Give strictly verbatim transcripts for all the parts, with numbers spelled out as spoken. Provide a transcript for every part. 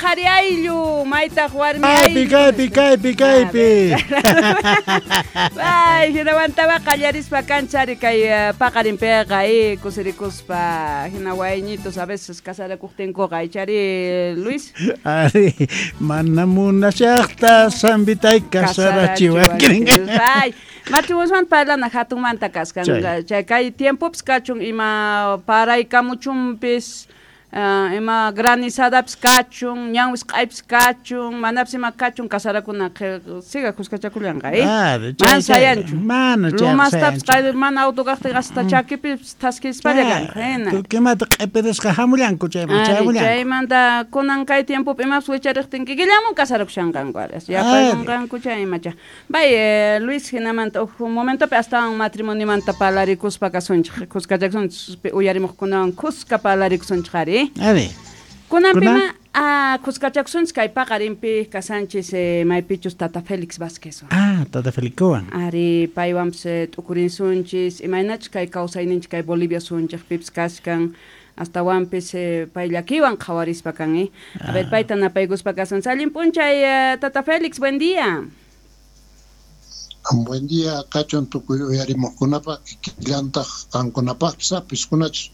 qhari ayllu, maytaq warmi Kaypi, ayllu. kaypi, kaypi, kaypi. Ay, hinawantaba qallarispa kanchari kay eh, paqarinpiqa eh, kusirikuspa hina wayñitos a veces casarakuqtinkuqa ichari Luis. Ari, mana munashaqta sambitay kasarachiwanki. Ay, matrimonioman parlana hatunmanta kaskan. Chay. Chay kay tiempopis kachun ima paraykamuchunpis uh, ima granizadapis kachun, ñanwis q'aypis kachun, manapis ima kachun kasarakuna siga kuskachakullanqa, eh? Ah, chay, Mana chay, sayanchu. Mana chay Lumastapis sayanchu. qay mana auto kaqtin hasta chakipis thaskispalla kanqa, hina. Tukimata q'ipirisqa hamullanku chayman, Ari, chaymullanku. chaymanta kunan kay tiempopi imapas wichariqtin kikillamun kasarakushanqanku aras. Yapaykunqanku chay imacha. Bay, eh, Luis hinamanta uj momentopi astawan matrimoniomanta parlarikuspa kasunchik, kuskachakusunchik uyarimuqkunawan kuska parlarikusunchik ari. Ari. Kunanpima Kunan? ah, kuskachakusunchik kay paqarinpi kasanchis eh, maypichus Tata Félix Vázquezwan. Ah, Tata Felicowan. Ari paywanpis eh, t'ukurinsunchis imaynachus kay kawsayninchik kay Bolivia sunchikpipis kashkan astawanpis eh, pay llakiwan qhawarispa kan eh. A ver, payta napaykuspa kasunchis. Allin p'unchay eh, Tata Félix, buen día. Buen día, kachun tukuy uyarimuqkunapaq kikillantaq qankunapaqpis apiskunachus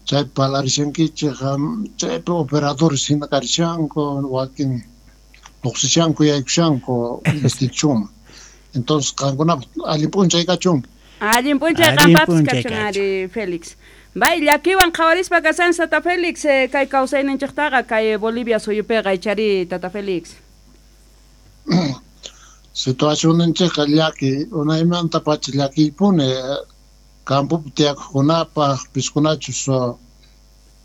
chay palarishankichik chaypi operadores hina karishanku wakin lluqsishanku yaykushanku institucionman. Entonces qankunapaq allin p'unchay kachun. Allin p'unchay Allin qampapis p'unchay kachun kachun. ari Félix. Bay llakiwan qhawarispa kasan Tata Félix eh, kay kawsayninchiktaqa kay Bolivia suyupiqa ichari Tata Félix. Situacionninchikqa llaki unaymanta pacha llakiypuni campopi tiyakuqkunapaq piskunachus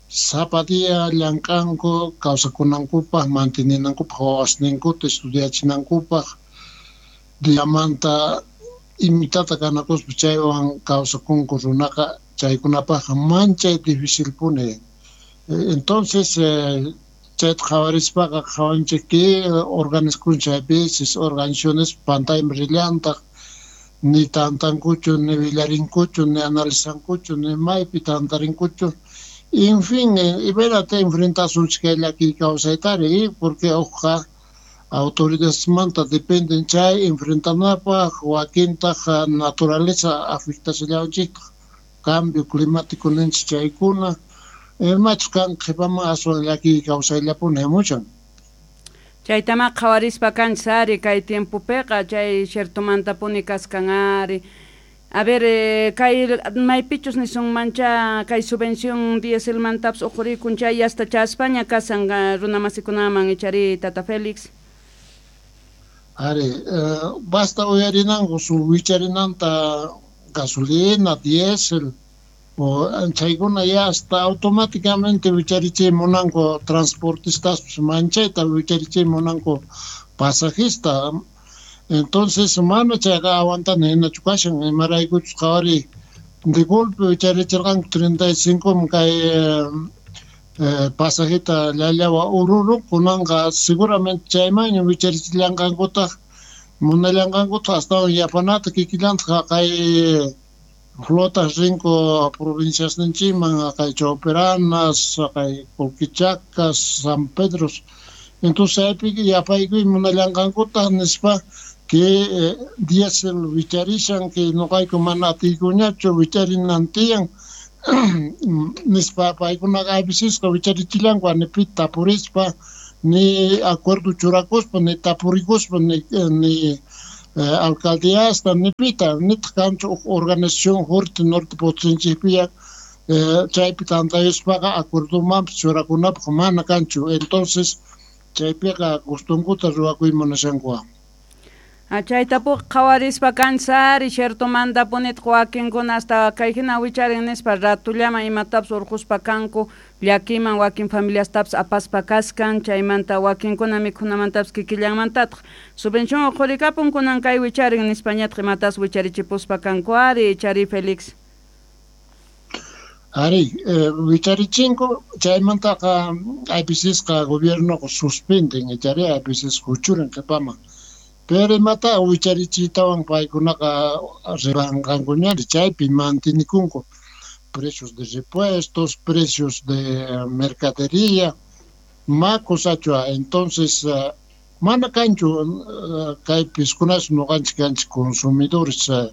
sapa día llank'anku kawsakunankupaq manteninankupaq wawasninkuta estudiachinankupaq diamanta imitata kanakuspa chaywan kawsakunku runaqa chaykunapaqqa manchay dificilpuni. Entonces eh, chayta qhawarispaqa qhawanchik que organizakun chay veces organizaciones pantayman rillantaq ni tantankuchu ni willarinkuchu ni analizankuchu ni maypi tantarinkuchu. En fin, imaynata enfrentasunchik kay llakiy kawsaytari porque uqqa autoridadesmanta dependen chay enfrentanapaq wakintaq naturaleza afectashallawanchiktaq cambio climático ninchik chaykuna imachus kan qhipaman aswan llakiy kawsayllapuni hamuchan. Chaytama qhawarispa kanchis ari kay tiempopiqa chay ciertomantapuni kaskan ari. A ver, eh, kay maypichus nisunmancha kay subvención dieselmantapis uqhurikun chay hasta chaspaña kasan runamasikunaman ichari Tata Félix. Ari, eh, basta uyarinanku su wicharinanta gasolina, diésel o chaykuna ya hasta automáticamente wicharichay munanku transportistas manchayta wicharichay munanku pasajista. Entonces mana chayqa aguantana hinachu kashan imaraykuchus qhawari de golpe wicharichirqanku treinta y cinco kay eh, pasajita llallawa Oruro kunanqa seguramente chaymanña wicharichillanqankutaq munallanqankutaq astawan yapanata kikillantaq kay flotas rinku provinciasninchikman kay Choperanas, kay Colquichacas, San Pedros. Entonces chaypi yapaykuy munallanqankutaq nispa que eh, diésel wicharishan que noqayku mana atiykuñachu wicharinan tiyan nispa paykunaqa avisisqa wicharichillanku ni tapurispa ni acuerdo churakuspa ni tapurikuspa ni, ni eh, alcaldíasta ni pita nitaq kanchu huk organización fuerte norte Potosínchikpiya eh, chaypi tantayuspaqa acuerdomanpis churakunapaq mana kanchu. Entonces chaypiqa gustunkuta ruwakuy munashankuwan. Ah, chaytapuqa qhawarispa kanchis ari ciertomantapunitaq wakinkuna hasta kay hina wicharin nispa ratullaman imatapis urquspa kanku llakiman wakin familiastapis apaspa kaskan chaymanta wakinkuna mikhunamantapis kikillanmantataq subvención uqhurikapun kunan kay wicharin nispañataq imatas wicharichipuspa kanku ari ichari Félix. Ari, eh, wicharichinku chaymantaqa a vecesqa gobiernoqa suspenden ichari a veces huchurin qhipaman. Pero imata wicharichiytawan paykunaqa rimanqankuñari chaypi mantenikunku precios de repuestos, precios de mercadería. Ma kusachu. Entonces uh, mana kanchu uh, kay piskunas noqanchik kanchik consumidores uh,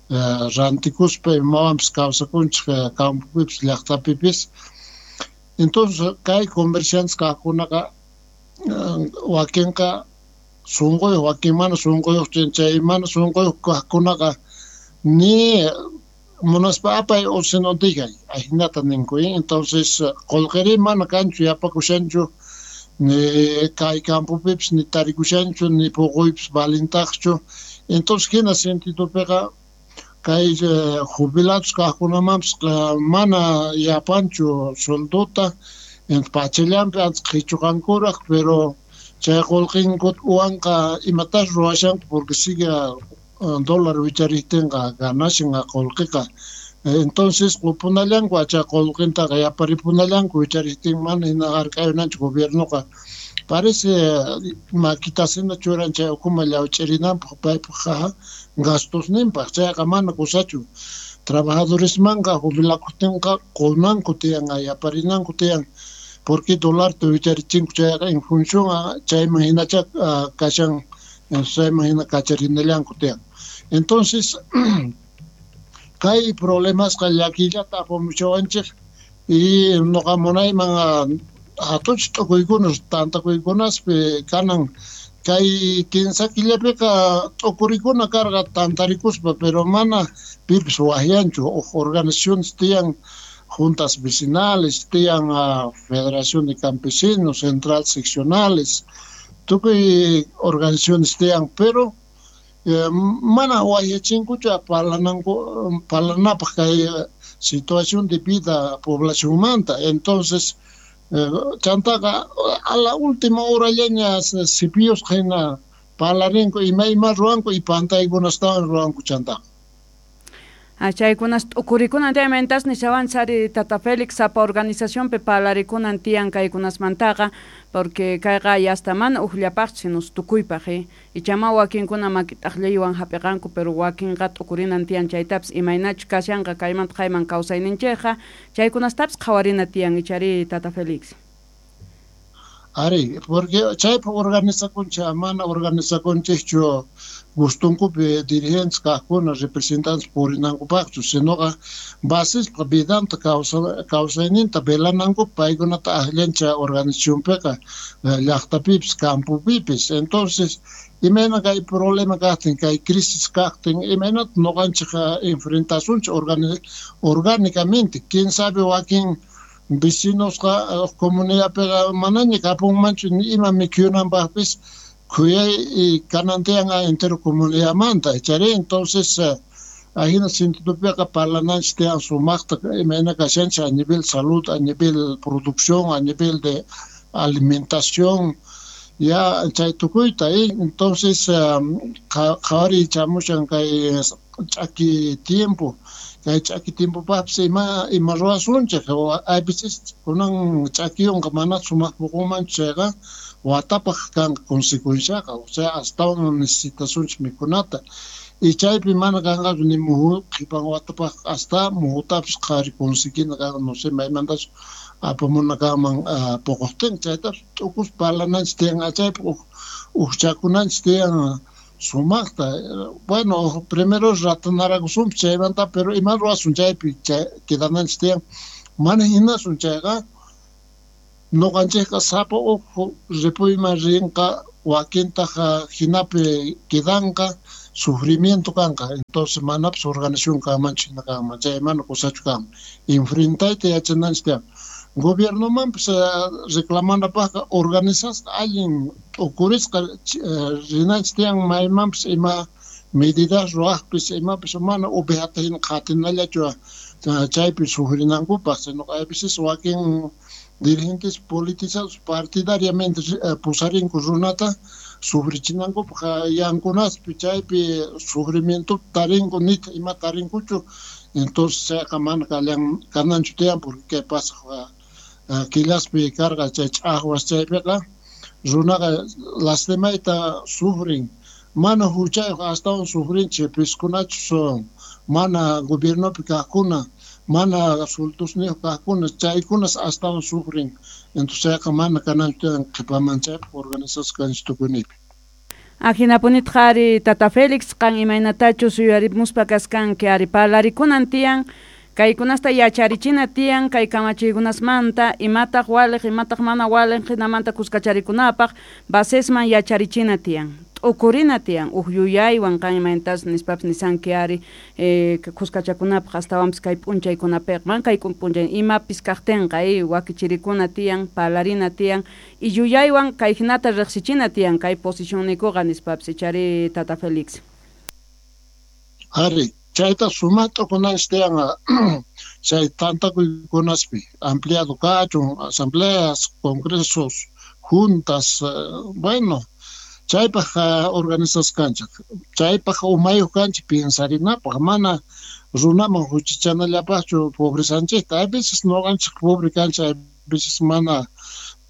uh, rantikuspa imawanpis kawsakunchik uh, campopipis llaqtapipis. Entonces kay comerciantes kaqkunaqa uh, wakinqa sunquyuq, wakin mana sunquyuq, chay mana sunquyuq kaqkunaqa ni munaspa apay o sino digay ajinata ninku. Entonces qullqiri mana kanchu, yapakushanchu, ni kay campopipis ni tarikushanchu, ni puquypis valintaqchu. Entonces hina sentidopiqa kay jubilados kaqkunamanpis mana yapanchu sueldota, pachallanpi antes qhichuqankuraq, pero chay qullqinku uwanqa imatas ruwashanku porque sigue dólar wichariptinqa ganashan qullqiqa. Entonces qupunallanku chay qullqintaqa yaparipunallanku wichariptin, mana hina hark'ayunanchu gobiernoqa. Parece maquitasina churan chay ukuma llawch'irinanpaq paypaq gastosninpaq, chayqa mana kusachu. Trabajadoresmanqa jubilakuqtinqa qunanku tiyan, yaparinanku tiyan, porque dólarta wicharichinku chayqa en función chayman hinacha kashan, chayman hina kacharinallanku tiyan. Entonces kay problemasqa llakillata apamuchawanchik y noqa munayman hatunchik t'ukuykunas tantakuykunaspi kanan kay kinsa killapiqa t'ukurikuna karqa tantarikuspa, pero mana pipis waqyanchu. Huk organizaciones tiyan, juntas vecinales tiyan, uh, Federación de Campesinos, central seccionales, tukuy organizaciones tiyan, pero eh, mana waqyachinkuchu parlananku parlanapaq kay situación de vida poblacionmanta. Entonces eh, chantaqa a la última horallaña sipiyusqa hina parlarinku ima ima ruwanku y pantaykunastawan ruwanku chantaqa. Chaykunas t'ukurikunan tiyan mentas nishawan sari Tata Félix sapa organizacionpi parlarikunan tiyan kaykunasmantaqa, porque kayqa yasta mana ujllapaqchu sino tukuypaq, eh? Ichama wakinkuna makit'aqllaywan hap'iqanku, pero wakinqa t'ukurinan tiyan chaytapis imaynachu kashanqa kaymanta qayman kawsayninchikqa, chaykunastapis qhawarina tiyan ichari Tata Félix. Ari, porque chaypaq organizakunchik, mana organizakunchikchu gustunkupi dirigentes kaqkuna representantes purinankupaqchu, sinoqa basispa vidanta kawsayninta velanankupaq paykunata akllancha organizacionpiqa llaqtapipis campopipis. Entonces imayna kay problema kaqtin, kay crisis kaqtin, imaynata noqanchik enfrentasunchik orgánicamente. Quién sabe wakin vecinosqa comunidadpiqa manaña kapunmanchu ni ima mikhunanpaqpis khuyay kanan tiyan entero comunidadmanta ichari. Entonces ajina sentidopiqa parlananchik tiyan sumaqta imayna kashanchik a nivel salud, a nivel producción, a nivel de alimentación, ya chay tukuyta. Entonces qhawariy chamushan kay ch'aki tiempo, kay ch'aki tiempopaqpis ima ima ruwasunchik. A veces kunan ch'akiyunqa mana sumaq puqunmanchu chayqa watapaq kanqa consecuenciaqa, o sea astawan necesitasunchik mikhunata y chaypi mana kanqachu ni muhu qhipan watapaq hasta muhutapis qhari conseguina kanqa, no sé maymantachu apamuna kanman puquqtin, chaytapis t'ukus parlananchik tiyan, chaypi ujchakunanchik tiyan sumaqta. Bueno, primero ratanarakusunpis chaymanta, pero ima ruwasun chaypi chay quedananchik tiyan, mana hinasun chayqa noqanchikqa sapa uj ripuyman rinqa, wakintaq hinapi quedanqa, sufrimiento kanqa. Entonces manapis organización kanmanchu hina kanman, chay mana kusachu kanman. Enfrentayta yachananchik tiyan. Gobiernomanpis reclamanapaqqa organizasqa allin t'ukurisqa rinanchik tiyan maymanpis ima medidas ruwaqpis imapis mana ovejata hina qhatinallachu chaypi sufrinankupaq, sino a veces wakin dirigentes politizados partidariamente pusarinku runata sufrichinankupaq yankunaspi chaypi sufrimiento tarinku nita ima tarinkuchu. Entonces chayqa mana kananchu tiyan, porque kay pasaq killaspi karqa chay ch'aqwas chaypiqa runaqa lastimayta sufrin, mana huchayuq astawan sufrinchik piskunachus mana gobiernopi kaqkuna, mana sueltosniyuq kaqkuna chaykunas astawan sufren. Entonces chayqa mana kananchu tiyan qhipaman chaypaq organizasqa kanchik tukuynipi. Ajinapunitaq ari Tata Félix qan imaynatachus yuyarimuspa kaskanki ari parlarikunan tiyan kaykunasta yacharichina tiyan kay kamachiykunasmanta imataq waliq imataq mana waliq jinamanta kuskacharikunapaq basesman yacharichina tiyan t'ukurina tiyan uj yuyaywan qan imaynatas nispapis nisanki ari eh, kuskachakunapaq astawanpis kay p'unchaykunapiqa man kay p'unchay imapis kaqtinqa eh, wakichirikuna tiyan parlarina tiyan y yuyaywan kay jinata riqsichina tiyan kay posicionnikuqa nispapis ichari Tata Félix. Ari chayta sumaqta t'ukunanchik tiyan chay tantakuykunaspi ampliado kachun asambleas, congresos, juntas, bueno chaypaq organizasqa kanchik chaypaq umayuq kanchik piensarinapaq mana runaman huchachanallapaqchu pobrezanchikta. A veces nuqanchik pobre kanchik, a veces mana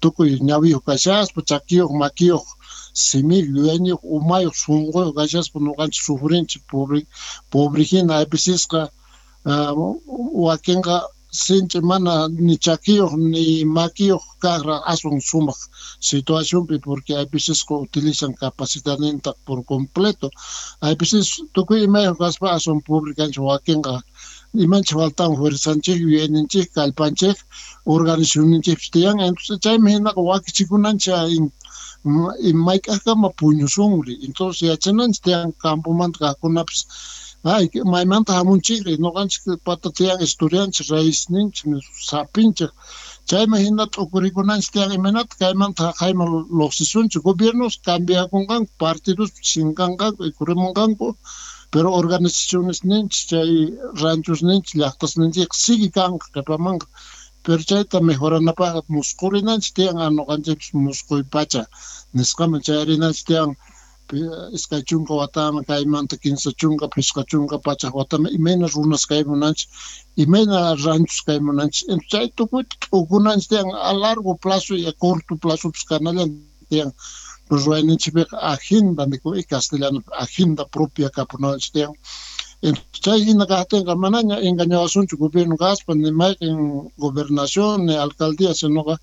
tukuy ñawiyuq kashaspa chakiyuq makiyuq simiyuq yuyayniyuq umayuq sunquyuq kashaspa nuqanchik sufrinchik pobre pobre hina. A vecesqa wakinqa sinchi mana ni chakiyuq ni makiyuq kaqra aswan sumaq situacionpi porque a vecesqa utilizan capacidadninta por completo. A veces tukuy imayuq kaspa aswan pobre kanchik wakinqa imanchik faltan fuerzanchik yuyayninchik kallpanchik organizacionninchikpis tiyan. Entonces chaymi hinaqa wakichikunanchik mayk'aqkama puñusunri. Entonces yachananchik tiyan campomanta kaqkunapis ay maymanta hamunchikri nuqanchik pata tiyan estudianchik raízninchik sapinchik chayman hina t'ukurikunanchik tiyan imaynata kaymanta haqayman lluqsisunchik. Gobiernos cambiakunqanku partidos chinkanqanku ikurimunqanku pero organizacionesninchik chay ranchosninchik llaqtasninchikqa sigue kanqa qhipamanqa. Pero chayta mejoranapaqqa musqurinanchik tiyan nuqanchikpis musquy pacha nisqaman chayarinanchik tiyan iskay chunka wataman kaymanta kinsa chunka phisqa chunka pachaq wataman imayna runas kaymunanchik imayna ranchos kaymunanchik. Entonces chay tukuyta t'ukunanchik tiyan a largo plazo y a corto plazopis kanallan tiyan. Ruwayninchikpiqa agenda nikun castellanopi agenda propia kapunanchik tiyan. Entonces chay hina kaqtinqa manaña engañawasunchu gobierno kaspa ni mayqin gobernación ni alcaldía sinoqa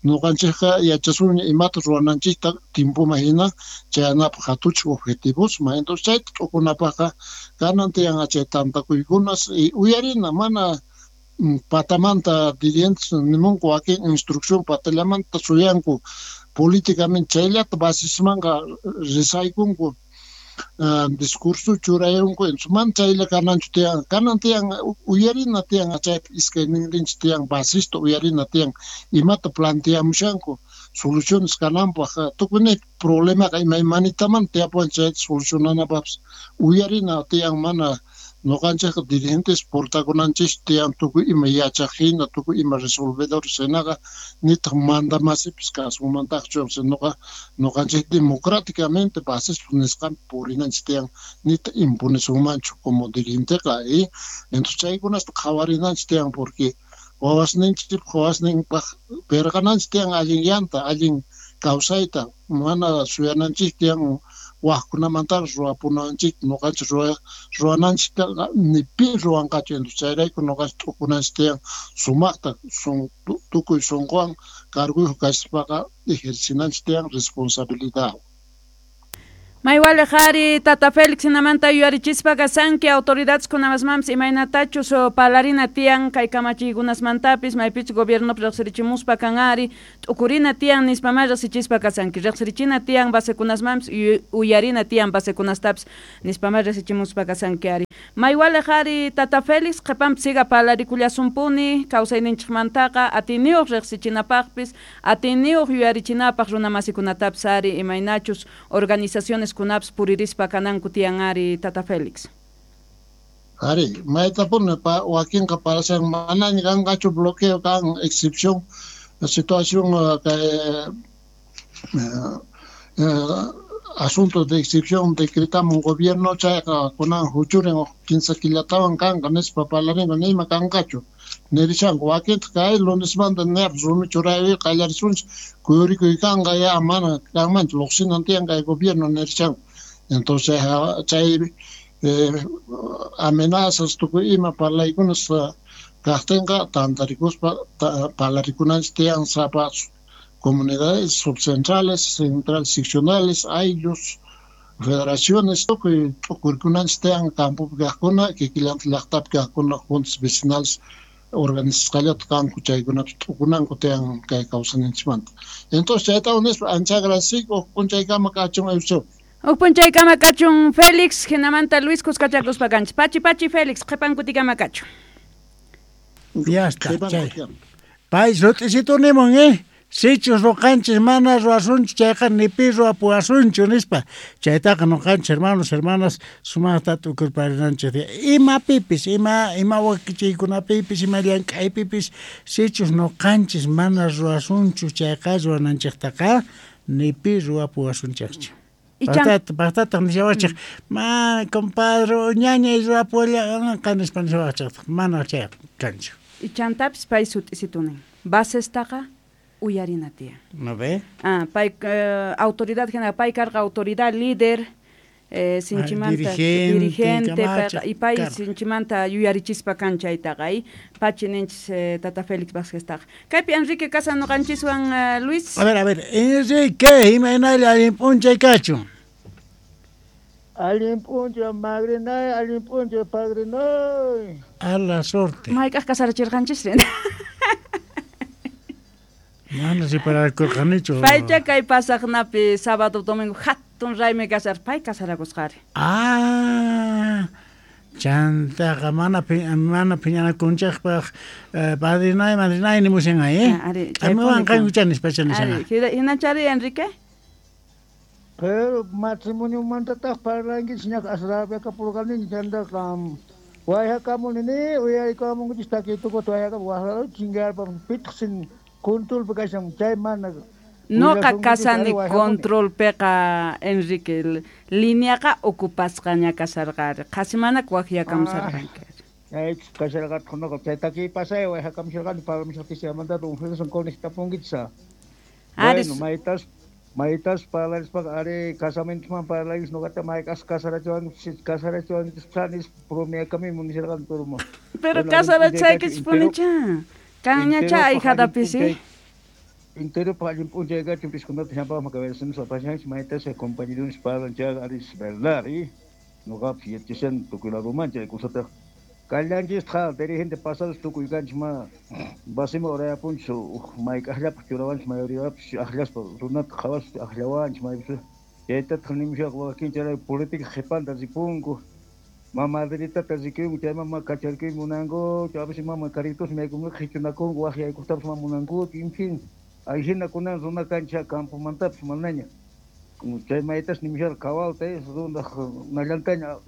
nuqanchikqa yachasunña imata ruwananchikta tiempoman hina chayanapaq hatuchik objetivosman. Entonces chayta t'ukunapaqqa kanan tiyan chay tantakuykunas y uyarina mana patamanta dirigentes nimunku wakin instrucción patallamanta suyanku políticamente chayllata basismanqa risaykunku Uh, discurso churayunku. Entonces man chaylla kananchu tiyan kanan tiyan uyarina tiyan chaypi iskay ninrinchik tiyan basista uyarina tiyan imata planteamushanku soluciones kananpaq tukuy problemaqa imaymanitaman tiyapuwan chayta solucionanapaqpis uyarina tiyan mana nuqanchikqa dirigentes portakunanchik tiyan tukuy ima yachaq hina tukuy ima resolvedores hinaqa nitaq mandamasipis kasunmantaqchu sinoqa nuqanchik democráticamente basispa nisqanpi purinanchik tiyan nitaq imponesunmanchu como dirigenteqa. Y entonces chaykunasta qhawarinanchik tiyan porque wawasninchikpaq wawasninpaq pirqananchik tiyan allin llanta allin kawsayta mana suyananchik tiyan wajkunamantaqa ruwapunanchik nuqanchik ruwananchiktaqa ni pi ruwanqachu. Entonces chayrayku nuqanchik t'ukunanchik tiyan sumaqta sun tukuy sunquwan carguyuq kaspaqa ejercinanchik tiyan responsabilidad. Maywaliq ari Tata Félix hinamanta yuyarichispa kasanki autoridades kunamasmanpis imaynatachus parlarina tiyan kay kamachiykunasmantapis maypichus gobiernopi riqsirichimuspa kan ari t'ukurina tiyan nispamá riqsichispa kasanki riqsirichina tiyan basekunasmanpis uyarina tiyan basekunastapis nispamá riqsichimuspa kasanki ari. Maywaliq ari Tata Félix qhipanpi siga parlarikullasumpuni kawsayninchikmantaqa atiniyuq riqsichinapaqpis atiniyuq yuyarichinapaq runamasikunatapis ari imaynachus organizaciones kunaps puririspa kananku tiyan ari Tata Félix. Ari, maytapuni pa wakinqa parashan manaña kanqachu bloqueo kan excepción situación kay eh, asunto de excepción decretamos gobierno chayqa kunan huchurin kinsa killatawan kanqa nispa parlarinqa nima kanqachu nirishanku wakintaq kay lunesmanta ñapis rumi churaypi qallarisunchik kuyurikuy kanqa ya mana kanmanchu lluqsinan tiyan kay gobierno nirishanku. Entonces chay eh, amenazas tukuy ima parlaykunas Kajtinqa tantarikuspa parlarikunanchis tiyan sapa comunidades subcentrales, centrales seccionales, ayllus, federaciones, tukuy t'ukurkunanchis tiyan campopi kajkuna, kikillanta llaqtapi kajkuna, juntas vecinales organizasqallata kanku chaykunapis t'ukunanku tiyan kay kawsayninchikmanta. Entonces chayta nispa ancha agradeciku huk p'unchaykama kachun Eusebio. Huk p'unchaykama kachun Félix, hinamanta Luis kuskachakuspa kanchis. Pachi pachi Félix, qhipan kutikama kachun. Ya está, chay. Pay sut'isitu nimun, eh? Sichus ruqanchis mana ruwasunchu chayqa ni pi ruwapuwasunchu nispa. Chaytaqa nuqanchis hermanos, hermanas sumaqta t'ukurparinanchis. Imapipis, ima ima wakichiykunapipis, ima llank'aypipis sichus nuqanchis mana ruwasunchu chayqa ruwananchiktaqa ni pi ruwapuwasunchikchu. Paqtataq nishawachik, ma compadre, ñañay ruwapuwallanqa nispa nishawachik, mana chayqa kanchu. Ichantapis pay sut'isitunin. Basestaqa uyarina tiyan. ¿No ve? Ah, pay eh, autoridad hina pay karqa autoridad líder eh, sinchimanta dirigente, dirigente kamachiq payqa, y pay karqa. sinchimanta yuyarichispa kan chaytaqa y pachi ninchis eh, tata Félix Vázqueztaqa. Kaypi Enrique Casa nuqanchiswan eh, Luis. A ver, a ver, Enrique, imaynalla allin p'unchay kachun. Allin p'unchay madrinay, allin p'unchay padrinay. A la suerte. Mayk'aq kasarachirqanchis? Mana repararkurqanichu. Paycha kay pasaqnapi sábado domingo hatun raymi kasar, pay kasarakusqari. Ah, chantaqa mana mana phiñanakunchikpaq eh, padrinay, madrinay nimushan eh. Ah, ari, Qamiwan chaypuni qankucha nispacha nishan. Ari, hinachari Enrique? Pero matrimoniomantataq parlankichis ñaqa asrapiakapurqaniña chantaqa wayhakamunini uyarikamunkichis takiytukuta wayhakamun waqraru chinkarpa pitaq sin controlpi kashan chay mana Noqa willasunkichis, kasani ari wayhakamuni. controlpiqa Enrique lineaqa ocupasqaña kasarqari qhasi mana waqyakamusarqanki. Chaychus kasharqataq noqa chay takiy pasay wayhakamusharqani parlamusharqanchis un Félix conectapunkichis. Ari, Bueno, maytas maytas parlarispaqa ari casamientoman parlankichis noqata mayk'as kasarachiwankichis kasarachiwankichis nispa promeakamimu nisharqani pero pero bueno, kasarachaykichispunicha. Kanñacha ahijadapis, eh? Entero allin p'unchay kachun piskunata llampaqman cabezas pashanchis maytas compañeros parlan chayqa ari es verdad, eh? Noqapis yachashani tukuy ladoman chay cosataqa kallanchistaq dirigente pasados tukuy kanchis ma basima urayapunchis uj mayk'aqllapaq churawanchis mayoriapis aqllaspa runata qhawaspa aqllawanchis maypis chaytataq nimushaqa wakin chay política qhipanta ripunku ma madritata rikuyku chayman ma kacharkuy munanku chaypis mama caritos maykunaqa qhichunakunku waqyaykujtapis ma munankuchu en fin ahina kunan runa kancha campomantapis manaña chay maytas nimusharqa kawalta runaq nallantaña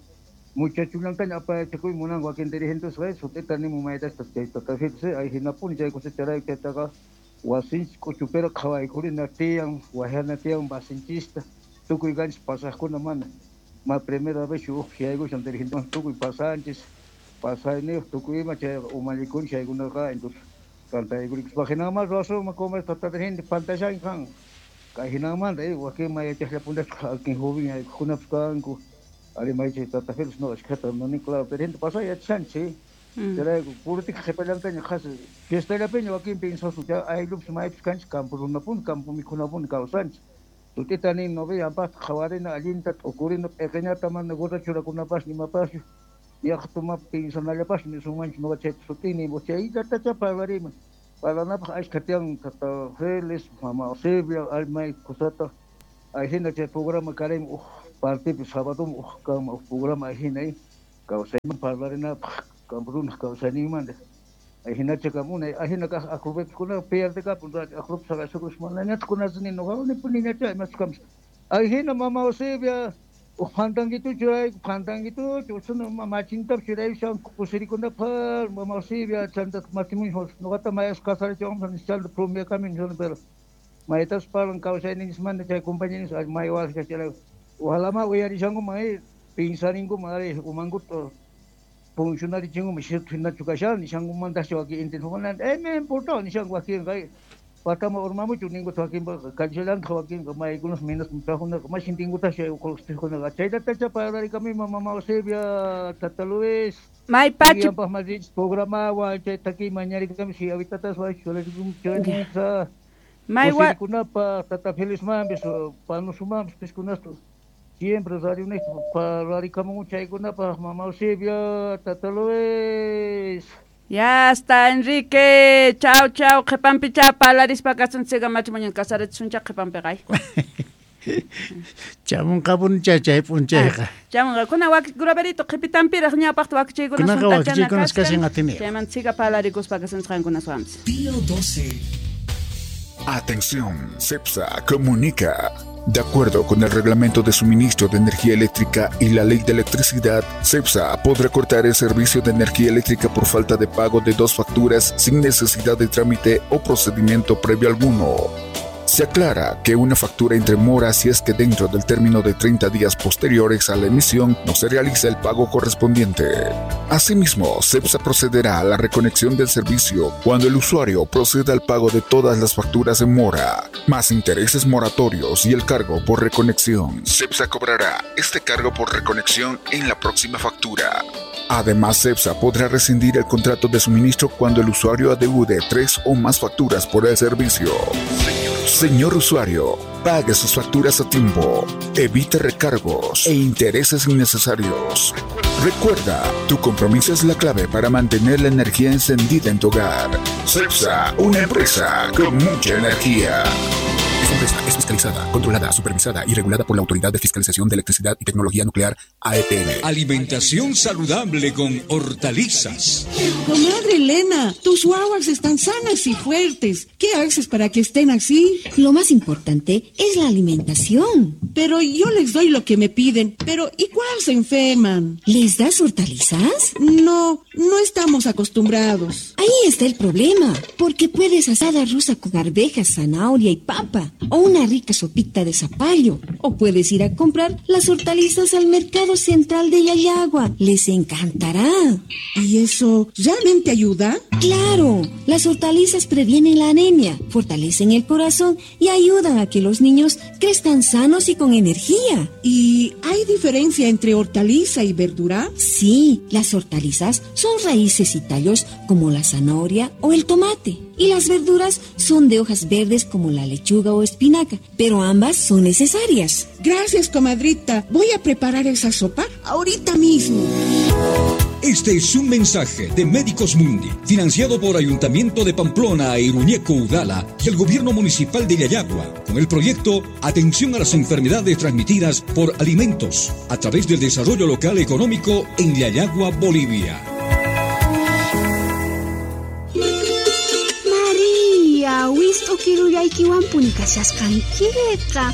muchachullantaña apayachakuy munanku wakin dirigentesqa sut'ita nimun maytasta chay tata Félix ahinapuni chay cosecharayku chaytaqa wasinchis k'uchupera qhawaykurina tiyan wajyana tiyan wasinchista tukuy kanchis pasaqkuna mana ma primera vez uj yaykushan dirigente tukuy pasanchis pasayniyuq tukuy ima chayqa umallikunchis chaykunaqa entonces tantaykurikispa hinamanta ruwasunman como tata dirigente pantashanki kan kay hinamanta wakin ma yachaqllapuntachu wakin joven aykukunapis kanku ari may chay tata Félix no ashkhata nani claro dirigente pasay yachashanchis chayrayku política qhipallantaña qhasi fiestallapiña wakin piensasun chay ayllupis maypis kanchis campo runapuni campo mikhunapuni kawsanchis sut'ita nin no ve llampaqta qhawarina allinta t'ukurina p'iqiñata mana gorra churakunapaschu imapaschu yaqtuma piensanallapaschu nisunmanchu noqa chayta sut'ini chayllatacha parlariman parlanapaq ashkha tiyan tata Félix mama Eusebia may kusata ahina chay programa karin uj partipi sábado uj kama uj programa ahina kawsayman parlarinapaq campo runaq kawsayninmanta ahinacha kamuna ahina kaq aqrupipis pierde kapun aqrupis saqasukus manañataq kunasini nuqa nipuniñacha imaschus kamus ahina mama Eusebia uj phantankituchu churayku phantankituchu usuna machintapis churayushan kusirikunapaq mama Eusebia chanta matrimonio nuqata mayas kasarachiwanpas chanta promeakami nishani pero maytas parlan kawsayninchismanta chay compañeros may waqcha chayrayku ojalá ma uyarishankuman pinsarinkuman ari umankuta funcionarichinkuman cierto hinachu kashan nishankumantachu wakin entendikuman eh me importa nishanku wakinqa Patama urmamuchu ningu wakinpa kallallanta wakinqa maykunas minas trajunaqa mashin tingutas chay uqulqtijunaqa chaylatacha parlarikami mama Eusebia tata Luis may pachi paq masich programawan chay taki mañarikami si habitatas wachularikum chayta may wa kunapa tata Félix mampis panusumampis piskunastu siempre radio nista parlarikamun chaykunapaq mama Eusebia tata Luis. Ya está, Enrique. Chao, chao. Qhipanpicha parlarispa kasunchikqa machimuñan kasarachisunchá qhipanpiqa. Chamunqapuncha chay p'unchayqa. Chamunqa kuna wak graverito qhipitanpiraq ñawpaqta wakichiykunas Kunaqa wakichiykunas kashan atini. Chayman siga parlarikuspa kasunchikqankunas wampis. Pío doce. Atención, CEPSA comunica. De acuerdo con el Reglamento de Suministro de Energía Eléctrica y la Ley de Electricidad, CEPSA podrá cortar el servicio de energía eléctrica por falta de pago de dos facturas sin necesidad de trámite o procedimiento previo alguno. Se aclara que una factura entre mora si es que dentro del término de treinta días posteriores a la emisión no se realiza el pago correspondiente. Asimismo, CEPSA procederá a la reconexión del servicio cuando el usuario proceda al pago de todas las facturas en mora, más intereses moratorios y el cargo por reconexión. CEPSA cobrará este cargo por reconexión en la próxima factura. Además, CEPSA podrá rescindir el contrato de suministro cuando el usuario adeude tres o más facturas por el servicio. Señor usuario, pague sus facturas a tiempo, evite recargos e intereses innecesarios. Recuerda, tu compromiso es la clave para mantener la energía encendida en tu hogar. CEPSA, una empresa con mucha energía. Esta empresa es fiscalizada, controlada, supervisada y regulada por la Autoridad de Fiscalización de Electricidad y Tecnología Nuclear, A E T N. Alimentación saludable con hortalizas. Comadre Elena, tus guaguas están sanas y fuertes. ¿Qué haces para que estén así? Lo más importante es la alimentación. Pero yo les doy lo que me piden. Pero igual se enferman. ¿Les das hortalizas? No, no estamos acostumbrados. Ahí está el problema. Porque puedes asada rusa con arvejas, zanahoria y papa. O una rica sopita de zapallo. O puedes ir a comprar las hortalizas al mercado central de Llallagua. Les encantará. ¿Y eso realmente ayuda? ¡Claro! Las hortalizas previenen la anemia, fortalecen el corazón y ayudan a que los niños crezcan sanos y con energía. ¿Y hay diferencia entre hortaliza y verdura? Sí, las hortalizas son raíces y tallos como la zanahoria o el tomate. Y las verduras son de hojas verdes como la lechuga o espinaca, pero ambas son necesarias. Gracias, comadrita. Voy a preparar esa sopa ahorita mismo. Este es un mensaje de Médicos Mundi, financiado por Ayuntamiento de Pamplona e Iruñeco Udala y el Gobierno Municipal de Llallagua, con el proyecto Atención a las Enfermedades Transmitidas por Alimentos, a través del Desarrollo Local Económico en Llallagua, Bolivia. Wist'ukirullaykiwanpuni kashasqankiqa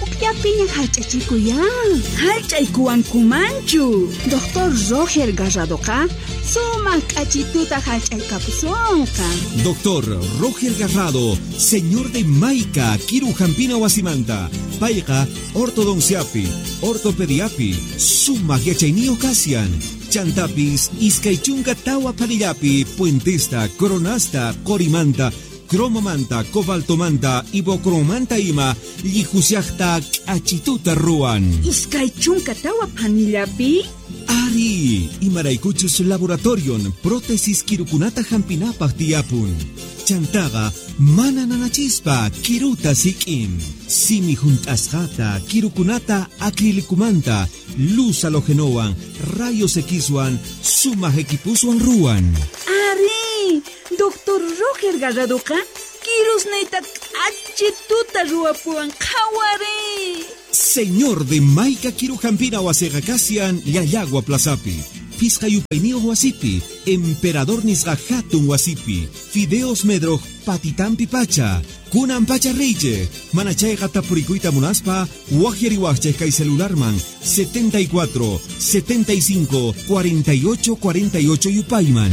ukllapiña hallch'achikuyan. Hallch'aykuwankumanchu. Doctor Roger Garradoqa sumaq k'achituta hallch'aykapusunqa. Doctor Roger Garrado, señor de Maica, Kirujampina wasimanta, payqa ortodonciapi, ortopediapi, sumaq yachayniyuq kashan. Chantapis, iskay chunka tawa panillapi, puentesta, coronasta, qorimanta, cromomanta, cobaltomanta, ibocromanta ima, llijusiaqta k'achituta ruwan. Iskay chunka tawa panillapi? Ari, imaraykuchus laboratorion, prótesis kirukunata hampinapaq tiyapun. Chantaqa mana nanachispa kiruta sik'in. Simi junt'asqata, kirukunata acrilicumanta, luz halogenowan, rayos Xwan, sumaq equipuswan ruwan. Ari, Doctor Roger Garradoqa kirusniyta k'achituta ruwapuwan qhawari. Señor de Maica Kirujampina wasiqa kashan Llallagua Plazapi, Pisqa yupayniyuq wasipi, Emperador nisqa hatun wasipi, Fideos Medroj patitampi pacha, kunan pacha reyche, mana chayqa tapurikuyta munaspa, waqyariwaqchej kay celularman setenta y cuatro, setenta y cinco, cuarenta y ocho, cuarenta y ocho yupayman.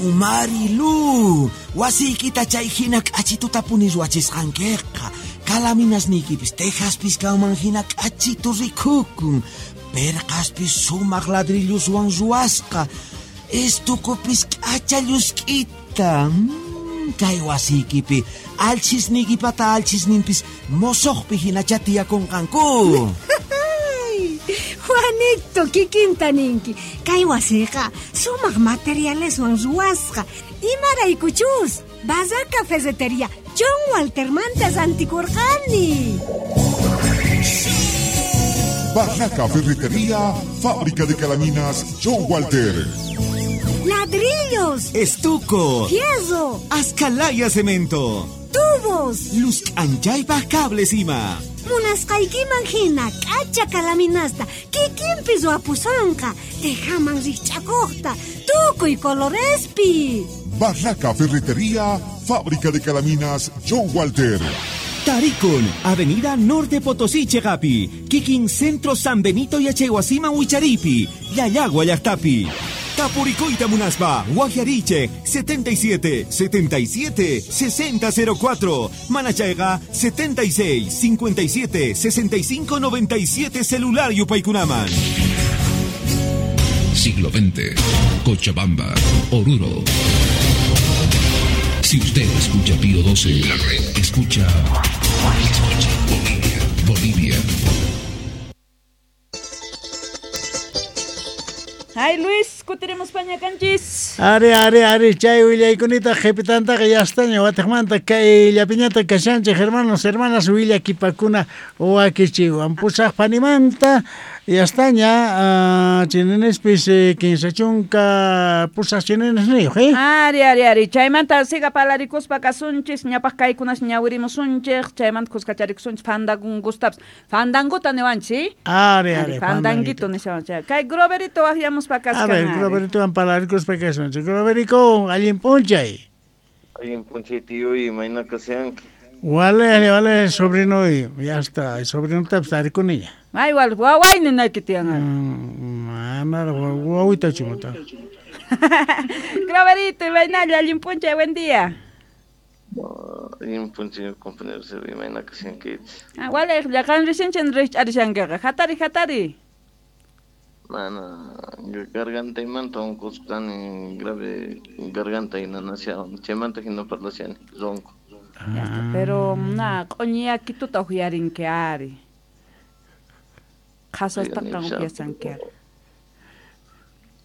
Marilu, wasiykita chay hina k'achituta puni ruwachisqankiqa. Kalaminasniykipis tejaspis kanman hina k'achitu rikukun. Perqaspis sumaq ladrilluswan ruwasqa. Estukupis k'acha llusk'ita. Mm, kay wasiykipi alchisniykipata alchisninpis mosoqpi hinacha tiyakunqanku. Juanito, kikinta ninki. Kay wasiqa sumaq materialeswan ruwasqa. Imaraykuchus, Barraca Ferretería John Waltermanta rantikurqani. Barraca Ferretería, fábrica de calaminas John Walter. Ladrillos, estuco, fierro, ascalaya cemento, tubos, luz anchaypaj cables ima. Munasqaykiman hina k'acha kalaminasta kikinpi ruwapusonqa, tejaman rikch'akuqta, tukuy colorespi. Barraca Ferretería, fábrica de calaminas John Walter. Tarikun, Avenida Norte Potosí, Chegapi, Kikin Centro San Benito Yachaywasiman Wicharipi, Llallagua llaqtapi. Tapuricoita Munaspa, Guajariche, setenta y siete, setenta y siete, sesenta cero cuatro, Manachaiga, setenta y seis, cincuenta y siete, sesenta y cinco, noventa y siete, celular Yupaykunaman. Siglo veinte, Cochabamba, Oruro. Si usted escucha Pío doce, la red escucha, escucha Bolivia, Bolivia. Ay, Luis, kutiremos paña kanchis. Ari, ari, ari, chay willaykunita qhipitantaqa yastaña watiqmanta kay llapiñata kashanchik hermanos, hermanas, willakipakuna wakichiwan pusaq panimanta yastaña uh, chininispis eh, kinsa chunka pusaq chininisniyuq, eh? Ari, ari, ari, chaymanta siga palarikuspa kasunchis, ñapaq kaykunas ñawirimusunchik, chaymanta kuskacharikusunchis fandangustapas. Fandanguta niwanchis, ¿sí? Ari, ari, fandanguito nishawanchik. Kay Groverito waqyamuspa kaskan. A ver, Groveritowan palarikuspa kasunchik. Groverico, allin p'unchay. Allin p'unchay, tío, y mayna kasianki. Wale, wale, sobrino, ya está, sobrinotapis tarikuniña. Ay, wal, waway ninayki tiyan. Mana, wawita chimota. Groverito, imaynalla, allin p'unchay, buen día. Allin p'unchay, compañeros, imayna kasiankichis. Ah, wale, qan risinchik rikch'arishankiqa. Hatari, hatari. Mana, gargantaymanta unqusqani, grave garganta nanashawan, chaymanta hina parlashani, ronco. Ya está, pero na q'uñiyakituta uyarinki ari. Qhasastaqa uyasanki ari.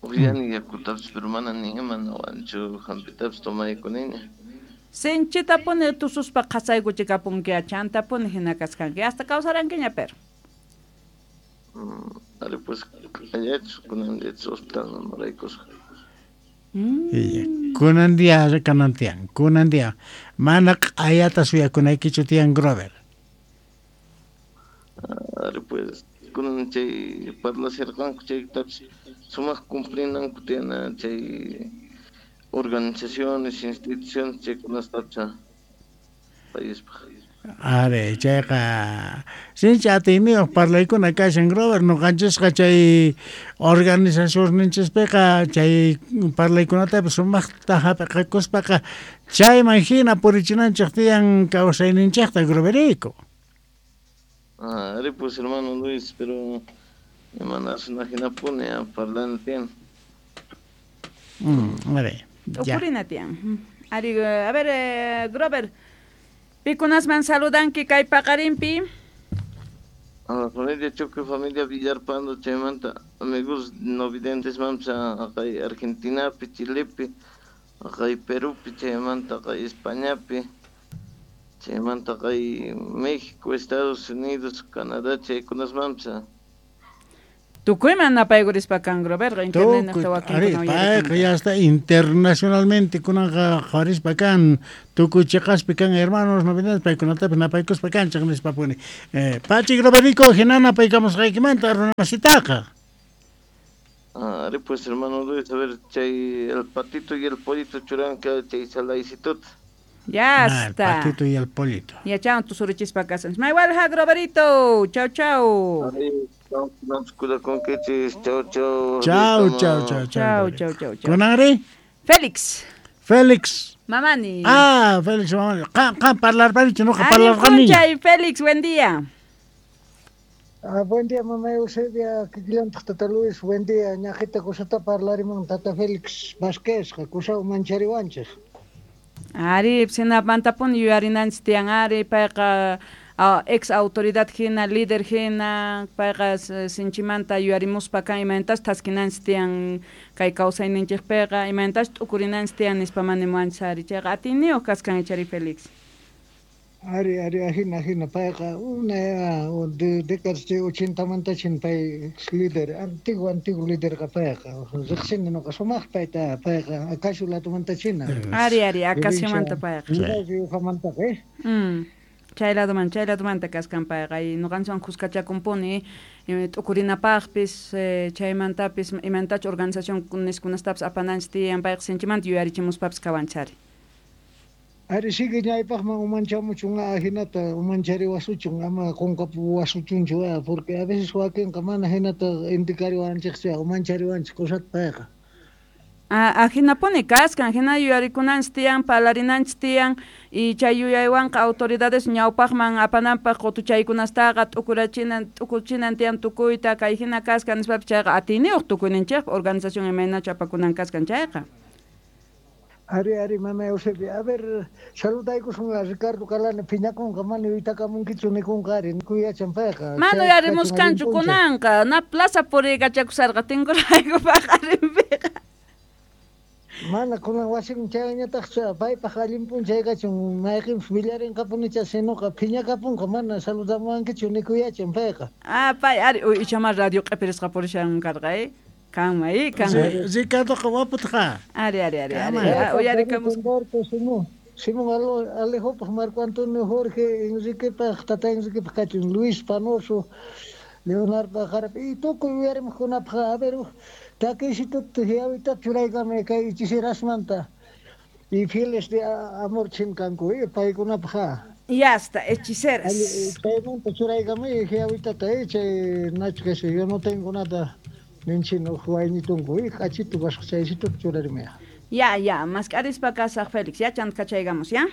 Uyani yakutapis, pero mana ni ima nawanchu hampitapis tomaykuniña. Sinchitapuni tususpa qhasaykuchikapunki chantapuni hina kasqanki, hasta kawsarankiña pero. Ari pues allachus kunan diachu hospital maraykusqa. Mm. Kunan día kanan tiyan, kunan día mana q'ayata suyakunaykichu tiyan Grover. Ari pues kunan chay parlasharqanku chaytapis sumaq cumplinanku tiyana chay organizaciones, instituciones chaykunastapis paispaq. Are, chayqa sinchi atiyniyuq parlaykuna kashan Grover, ñuqanchisqa chay organizacionninchispiqa chay parlaykunatapis sumaqta hap'iqakuspaqa chayman hina purichinanchik tiyan kawsayninchikta Groverico. Ah, ari pues hermano Luis, pero imanasuna hinapuni parlana tiyan. Mm, are, ya. Upurina tiyan. Ari, a ver, eh, Grover, pikunasman saludanki kay paqarinpi. A la familia Choque, familia Villarpando, chaymanta, amigos no videntes mamsa, kay Argentinapi, Chilepi, kay Perupi, chaymanta, kay Españapi, chaymanta, kay México, Estados Unidos, Canadá, chaykunas mamsa. Tukuyman napaykurispa kan Groverqa, internetnejta wakinkuna payqa ya está internacionalmente kunanqa qhawarispa kan tukuy chiqaspi kan hermanos novedades paykunatapis napaykuspa kanchik nispapuni. Eh, pachi Groverico, hina napaykamusqaykimanta runamasitaqa. Ah, ari pues hermano Luis, a ver, chay el patito y el pollito churanka chay salaysitota. Ya Ah, está. el patito y el pollito. Ya chao, tu surichispa kasan. Maywalja Groverito. Chau, chau. Chau, chau. Chau, chau, chau, chau. Chau, chau, chau. ¿Kunanri? Félix. Félix. Mamani. Ah, Félix Mamani. Qan, qan parlarparichu, noqa parlarqaniña. Félix, buen día. Ah, buen día, mamá Eusebia, kikillantaq tata Luis, buen día, ñaqita kusata parlarimun tata Félix Vázquez, kusaw manchariwanchik. Ari, sinapmantapuni yuyarinanchik tiyan ari, payqa ex autoridad hina, líder hina, payqa sinchimanta yuyarimuspa kan imaynatash thaskinanchik tiyan kay kawsayninchikpiqa, imaynatash t'ukurinanchik tiyan nispa manimuwanchik ari, chayqa atiyniyuq kaskan ichari Félix. Ari, ari, ajina, ajina, payqa una de décadas de ochentamanta chin pay ex líder, antiguo, antiguo líder payqa, riqsini nuqa sumaq payta, payqa Acacio ladomanta china. Ari, ari, Acaciomanta payqa. Riojamantaqa, eh? Mm. Chay ladoman, chay ladomanta kaskan payqa, y nuqanchikwan kuskachakunpuni, t'ukurinapaqpis, chaymantapis, imantachu organización niskunastapis apananchik tiyan, payqa sinchimanta yuyarichimuspapis kawanchari. Ari sigue ñaypaqman umanchamuchun ajinata umanchariwasuchun ama qunqapuwasuchunchu porque a veces wakinqa mana hinata indicariwanchikchu umanchariwanchik kusata payqa. Ah, ajinapuni kaskan, hina yuyarikunanchik tiyan, parlarinanchik tiyan, y chay yuyaywanqa autoridades ñawpaqman apananpaq qutuchaykunastaqa t'ukurachinan, t'ukuchinan tiyan tukuyta, kay hina kaskan nispapis chayqa atiyniyuq tukuyninchikpa organización imaynachu apakunan kaskan chayqa. Ari, ari, mamá Eusebia. A ver, saludaykusun a Ricardo Calane, phiñakunqa mana yuytakamunkichu nikunqa ari, nikuyachan payqa. Mana uyarimuskanchu kunanqa, na plaza puriykachakusarqa tinkurayku paqarinpiqa. Mana kunan wasin chayñataqchu, paypaq allin p'unchay kachun, mayqinpis willarinqapunicha sinuqa phiñakapunqa mana saludamuwankichu nikuyachan payqa. Ah, pay ari, uy, ichama radio q'ipirisqa purishan karqa, eh? Kanma, eh, kanma. Ricardoqa waputqa. Ari, ari, ari, ari. Uyarikamus. Simón, Simón Alejopaq, Marco Antonio Jorge, Enriquepaq, tata Enriquepaq kachun, Luis Panoso, Leonardo Jarap, y tukuy uyarimuqkunapaq, a ver, takisituta yawita churaykame kay hechicerasmanta y fieles de amor chinkanku, eh, paykunapaq. Ya está, hechiceras. Paymanta churaykame yawitata, eh, chay Nacho que yo no tengo nada. Ninchino huaynitunku, y k'achitu kasqa chaysitu churarimaya. Ya, ya, mask'arispa kasaq Félix, ya chanta kachaygamos, ya?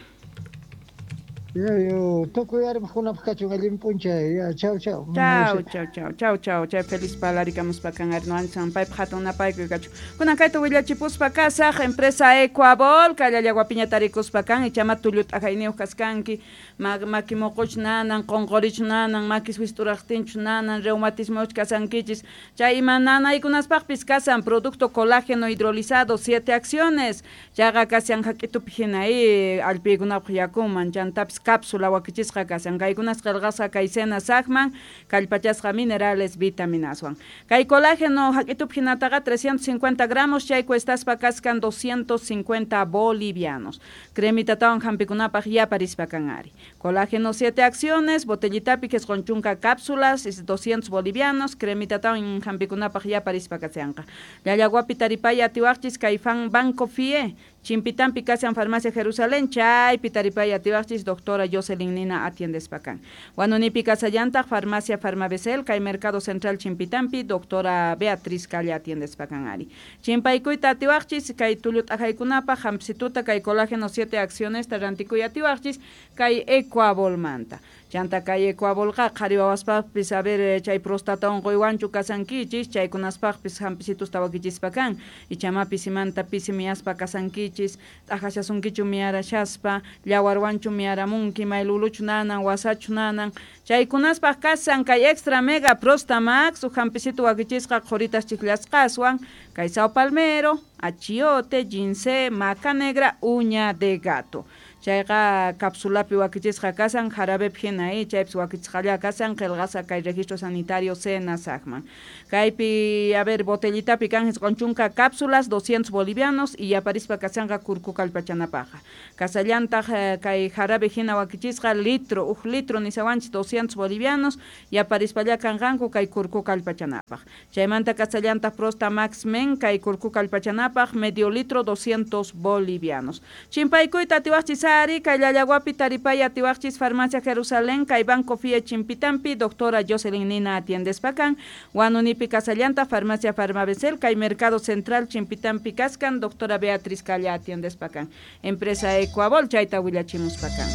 Ya, yo tukuy arimaqkunapaq kachun allin p'unchay, ya, chau, chau. Chau, chau, chau, chau, chau, chay Félix parlarikamuspa kan ari nuanchan paypaq hatun napaykuy kachun. Kunan kayta willachipuspa kasaq empresa Ecuabol, kay Llallaguapiña tarikuspa kan, ichama tullu t'ajayniyuq kaskanki, maki muquchu nanan, qunqurichu nanan, makis wisturaqtinchu nanan, reumatismochu kasankichis, chay ima nanaykunaspaqpis kasan producto colágeno hidrolizado, siete acciones, chayqa kashan hak'itupi hina, eh, allpiykunapaq yakuman, chantapis cápsula wakichisqa kasan, kaykunas qillqasqa kay sena saqman, kallpachasqa minerales, vitaminaswan. Kay colágeno hak'itupi hinataqa trescientos cincuenta gramos, chay cuestaspa kaskan doscientos cincuenta bolivianos. Cremitatawan hampikunapaq yaparispa kan ari. Colágeno siete acciones, botellitapi qisqun chunka cápsulas, doscientos bolivianos, cremitatawan hampikunapaq yaparispa kashanqa. Llallaguapi taripay atiwaqchis kay fan Banco F I E, Chimpitampi kasan Farmacia Jerusalén, chaypi taripay atiwaqchis doctora Jocelyn Nina atiendespa kan. Huanunipi kasallantaq Farmacia Farmabesel, kay Mercado Central Chimpitampi, doctora Beatriz Calle atiendespa kan ari. Chimpaykuyta atiwaqchis kay tullu t'ajaykunapaq hampsituta kay colágeno siete acciones rantikuy atiwaqchis kay Ecuabolmanta. Chanta kay Ecuabolqa qhari wawaspaqpis a ver chay prostata unquywanchu kasankichis, chaykunaspaqpis hampisitus tawakichispa kan, ichama pisimanta pisi miyaspa kasankichis, t'ajashasunkichu miyarashaspa, llawarwanchu miyaramunki, mayluluchu nanan, wasachu nanan, chaykunaspaq kasan kay extra mega prostamax, uj hampisitu wakichisqa qhuritas chiklasqaswan, kay sao palmero, achiote, ginseng, maca negra, uña de gato. Chayqa cápsulapi wakichisqa kasan, jarabepi hina, eh, chaypis wakichisqalla kasan, qillqasqa kay registro sanitario Senasacman. Kaypi, a ver, botellitapi kan isqun chunka cápsulas, doscientos bolivianos, y yaparispa kasanqa kurku kallpachanapaqa. Kasallantaq kay jarabe hina wakichisqa litro, uj litro nisawanchis doscientos bolivianos, yaparispalla kanqanku kay kurku kallpachanapaq. Chaymanta kasallantaq Prosta Max Men kay kurku kallpachanapaq medio litro doscientos bolivianos. Chimpaykuyta atiwaqchis ari, kay Llallaguapi taripay atiwaqchis Farmacia Jerusalén, kay Banco F I E Chimpitampi, doctora Jocelyn Nina atiendespa kan, Huanunipi kasallanta Farmacia Farmabesel, kay Mercado Central Chimpitampi kaskan, doctora Beatriz Calla atiendespa kan. Empresa Ecuabol, chayta willachimuspa kan.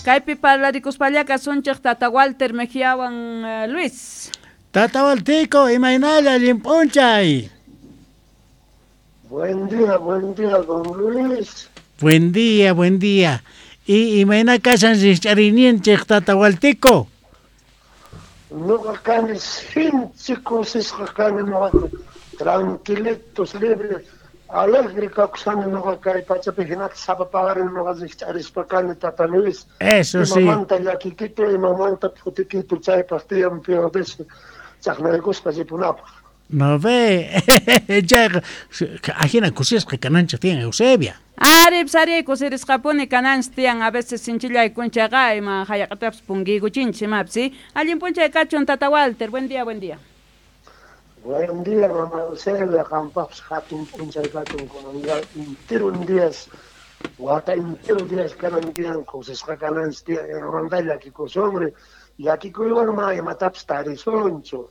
Kaypi parlarikuspalla kasunchej Tata Walter Mejiawan uh, Luis. Tata Waltico, imaynalla allin p'unchay. Buen día, buen día, don Luis. Buen día, buen día. Y imayna kashan rikch'ariyninchej Tata Waltico. Noqa kani sinchi kusisqa kani noqaqa tranquilitos, libre, alegre kakusani noqa kay pachapi hinata sapa paqarin noqa rikch'arispa kani Tata Luis. Eso sí. Imamanta llakikitu, imamanta phutikitu chaypaq tiyan peores chaqnaykuspa ripunapaq. No ve, chayqa ajina kusisqa kananchej tiyan Eusebia. Ari, psari, kusirisqapuni kananchej tiyan a veces sinchillaykunchayqa ima hallaq'atapis punkiykuchinchis imapis. Allin p'unchay kachun Tata Walter, buen día, buen día. Buen día, mamá Eusebia, qampaqpis hatun p'unchay kachun kunan enteron días, wata entero días kanan tiyan kusisqa kananchej tiyan imamanta llakikusunri, llakikuywan ma imatapis tarisunchu.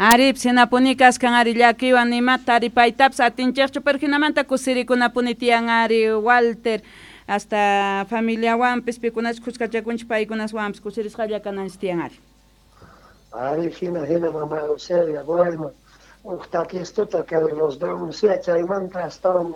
Ari, sinapuni kaskan ari llakiwan nimata taripaytapis atinchejchu, pero hinamanta kusirikunapuni tiyan ari Walter, hasta familiawanpis pikunas kuskachakunchik paykunaswanpis kusirisqalla kananchik tiyan ari. Ari, hina hina mamá Eusebia, bueno, uj takistuta kay los denuncia chaymanta astawan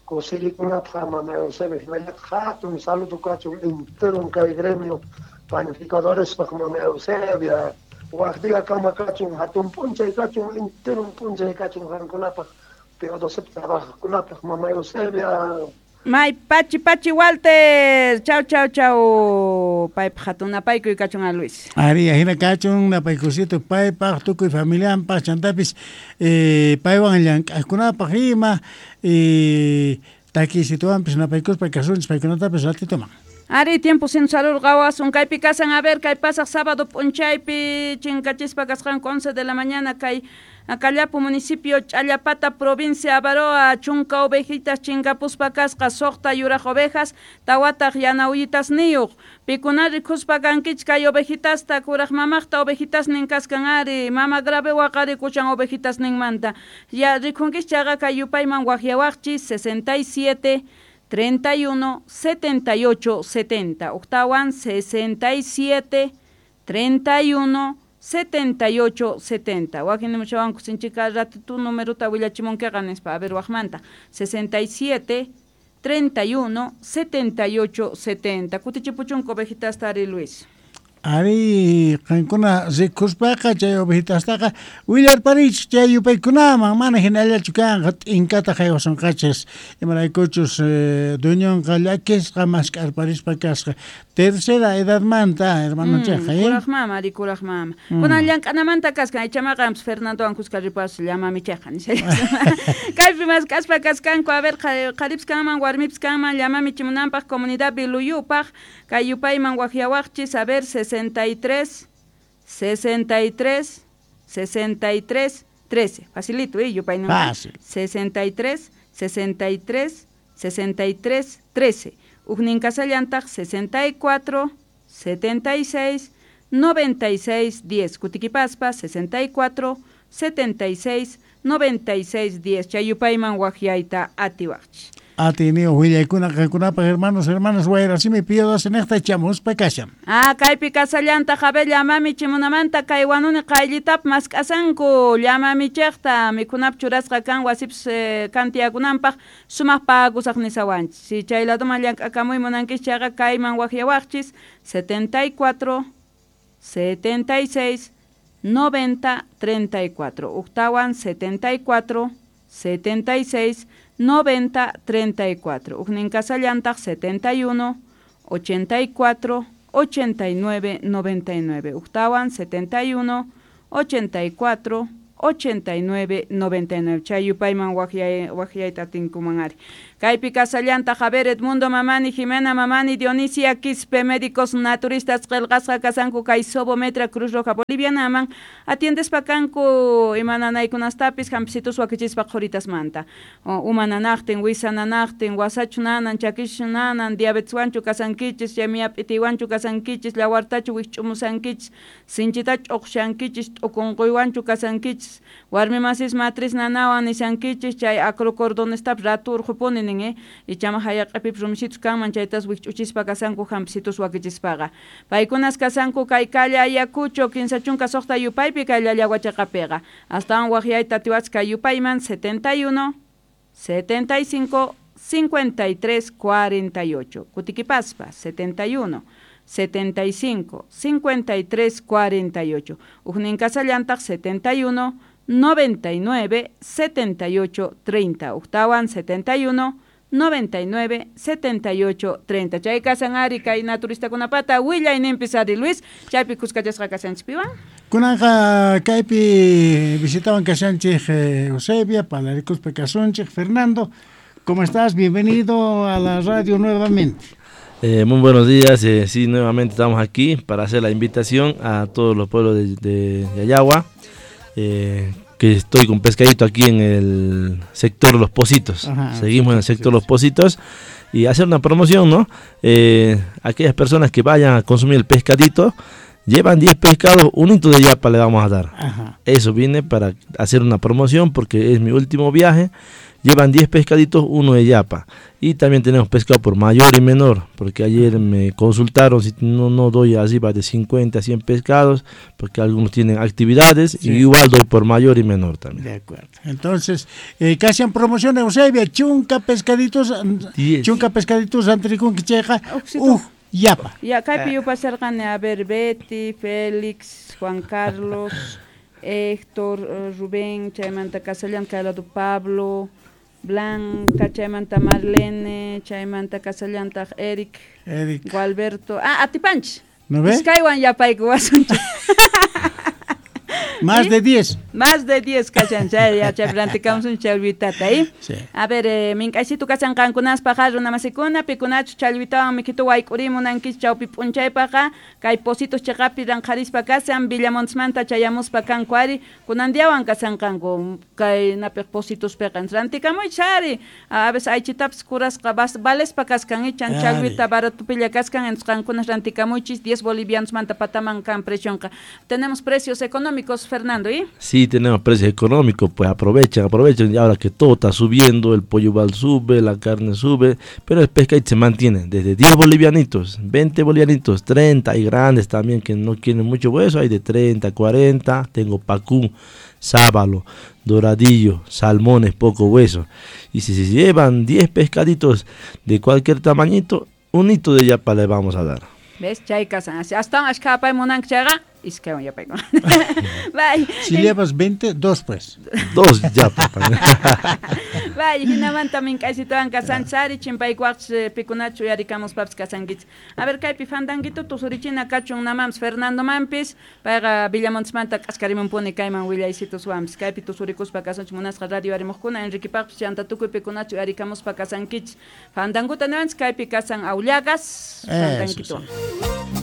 kusirikunapaq mamá Eusebia, hinallataq hatun saludo kachun enteron kay gremio panificadorespaq mamá Eusebia. Waj día kama kachun hatun p'unchay kachun enteron p'unchay kachun qankunapaq Pío doce trabajaqkunapaq mamá Eusebia. May pachi pachi Walter, chau chau chau, paypaq hatun napaykuy kachun a Luis. Ari, ajina kachun napaykusito paypaq tukuy familianpaq chantapis eh, paywan llank'aqkunapaq ima eh, takisituwanpis napaykuspa kasunchis paykunatapis ratituman. Ari, tiempo sin salud qawasun kaypi kasan a ver kay pasaq sábado p'unchaypi chinkachispa kasqanku once de la mañana kay Callapu municipio Ch'allapata provincia Avaroa chunka ovejitas chinkapuspa kasqa suqta yuraq ovejas tawataq yana uyitasniyuq pikuna rikuspa kankichik kay ovejitasta kuraq mamaqta ovejitasnin kaskan ari mama grave waqarikushan ovejitasninmanta ya rikunkichik chayqa kay yupayman waqyawaqchis sesenta y siete treinta y uno, setenta y ocho, setenta. Octawan sesenta y siete, treinta y uno, setenta y ocho, setenta. Wakin nimuchawanku sinchika ratitu numeruta willachimunkiqa nispa. A ver, waqmanta. sesenta y siete, treinta y uno, setenta y ocho, setenta. Kutichipuchunku ovejitasta ari Luis. Ari, qankuna rikuspaqa chay ovejitastaqa willarparichik chay yupaykunaman mana hinallachu kanqa t'inkata haywasunqachis imaraykuchus eh, dueñonqa llakisqa mask'arparispa kasqa tercera edadmanta hermanonchejqa mm, kuraq mama ari kuraq mama mm. Kunan llank'anamanta kaskan ichamaqa Fernandowan kuska ripas llamamichejqa nisha kaypi mask'aspa kaskanku a ver qharipis kanman warmipis kanman llamamichimunanpaq comunidad Biluyupaq kay yupayman waqyawaqchis a ver sesenta y tres, sesenta y tres, sesenta y tres, trece. Facilito, ¿eh? Yupay no. Fácil. sesenta y tres, sesenta y tres, sesenta y tres, trece. Ujnin kasallantaq sesenta y cuatro, setenta y seis, noventa y seis, diez. Kutikipaspa sesenta y cuatro, setenta y seis, noventa y seis, diez. Chayupayman waqyayta atiwaqchis. Atiniyo willaykuna qankunapaq hermanos, hermanas, wayrasimi Pío doce niqta chamuspa kashan. Ah, kaypi kasallanta jabe llamami chimunamanta kay wanuni qayllitap mask'asanku llamamichejta mikhunap churasqa kan wasipis eh, kantiyakunanpaq sumaq pagusaq nisawanchis. Si chay ladoman llank'akamuy munankichis chayqa kayman waqyawaqchis setenta y cuatro, setenta y seis, noventa, treinta y cuatro. Uqtawan setenta y cuatro, setenta y seis, noventa, treinta y cuatro. Ujnin kasallantaq setenta y uno, ochenta y cuatro, ochenta y nueve, noventa y nueve. Uqtawan setenta y uno, ochenta y cuatro, ochenta y nueve, noventa y nueve. Chay yupayman waqyay waqyayta atinkuman ari. Kaypi kasallanta Javier Edmundo Mamani, Jimena Mamani, Dionisia Quispe, médicos naturistas qillqasqa kasanku kay Sobometra Cruz Roja Bolivianaman atiendespa kanku imananaykunastapis hampisitus wakichispa qhuritasmanta. Umananaqtin, wisananaqtin, wasachu nanan, chakischu nanan, diabeteswanchu kasankichis, chaymiya p'itiwanchu kasankichis, llawartachu wikch'umusankichis, sinchitachu uqshankichis, t'ukunquywanchu kasankichis, warmi masis matriz nanawan nishankichis, chay acrocordonestapis ratu urqupuni nin eh? Ichama hayaq'ipipis rumisitus kanman chaytas wikch'uchispa kasanku hampisitus wakichispaqa. Paykunas kasanku kay calle Ayacucho kinsa chunka suqta yupaypi kay Llallagua chaqapiqa. Astawan waqyayta atiwachis kay yupayman setenta y uno, setenta y cinco, cincuenta y tres, cuarenta y ocho. Kutikipaspa setenta y uno, setenta y cinco, cincuenta y tres, cuarenta y ocho. Ujnin kasallantaq setenta y uno, noventa y nueve, setenta y ocho, treinta. Ujtawan setenta y uno, noventa y nueve, setenta y ocho, treinta. Chay kasan ari kay naturistakunapata willayninpis ari Luis, chaypi kuskachasqa kasanchikpiwan. Kunanqa kaypi visitawan kashanchik Eusebia, palarikuspa kasunchik. Fernando, ¿cómo estás? Bienvenido a la radio nuevamente. Eh, muy buenos días, eh, sí, nuevamente estamos aquí para hacer la invitación a todos los pueblos de, de Llallagua, eh, que estoy con pescadito aquí en el sector Los Pocitos. Ajá, Seguimos en el sí, sector sí, Los Pocitos y hacer una promoción, ¿no? Eh, aquellas personas que vayan a consumir el pescadito, llevan diez pescados, un hito de yapa le vamos a dar. Ajá. Eso viene para hacer una promoción porque es mi último viaje. Llevan diez pescaditos, uno de yapa. Y también tenemos pescado por mayor y menor, porque ayer me consultaron si no, no doy arriba de cincuenta a cien pescados, porque algunos tienen actividades, Sí. y igual doy por mayor y menor también. De acuerdo. Entonces, eh, casi en promoción Eusebia, chunka pescaditos, Diez. chunka pescaditos antricunquicheja, Uxito. uj, yapa. Ya, kaypi yupasarqani, a ver, Betty, Félix, Juan Carlos, Héctor, eh, Rubén, chaymanta kasallan kay lado Pablo, Blanca, chaymanta Marlene, chaymanta kasallantaq Eric, Eric. Gualberto, ah, atipanchis. ¿No ve? Iskaywan yapayku wasunchik. Más de diez. Más de diez kashan, chay, ya chay rantikamsun challwitata, ¿eh? Sí. A ver, eh, mink'aysitu kashan qankunaspaqa runamasikuna, pikunachu challwitawan mikitu wayk'urimunankichik chawpi p'unchaypaqa, kay Pocitos chaqapi ranqharispa kashan, Villamontismanta chayamuspa kanku ari, kunan diawan kashanqanku, kay napiq Pocitospiqa. Rantikamuychis ari, a veces aychitapis kurasqa bas, valespa kaskan, ichan Ari. challwita baratupilla kaskan, entonces qankunas rantikamuychis, diez bolivianosmanta pataman kan precionqa. Tenemos precios económicos, Fernando, ¿y? Sí, tenemos precios económicos, pues aprovechen, aprovechen, y ahora que todo está subiendo, el pollo igual sube, la carne sube, pero el pescadito se mantiene desde diez bolivianitos, veinte bolivianitos, treinta, hay grandes también que no quieren mucho hueso, hay de treinta, cuarenta, tengo pacú, sábalo, doradillo, salmones, poco hueso. Y si se llevan diez pescaditos de cualquier tamañito, un hito de yapa le vamos a dar. ¿Ves? Chay kasan. Así, hasta ashkapay munanki chayqa, iskaywan yapayku. Bye. Si llevas veinte, dos pues. Dos yapa. Bye, hinamanta mink'aysituwan kasanchis ari, chimpaykuwaqchis pikunachu uyarikamuspapis kasankichis. A ver, kaypi fandanguito tusurichina kachun namampas Fernando mampis, payqa Villamontismanta k'askarimunpuni kayman willaysituswanpis. Kaypi tusurikuspa kasunchis munasqa radio arimuqkuna, Enriquepaqpis chanta tukuy pikunachu uyarikamuspa kasankichis. Fandanguta niwanchis kaypi kasan Aullagas, Eso, fandanguituwan. sí.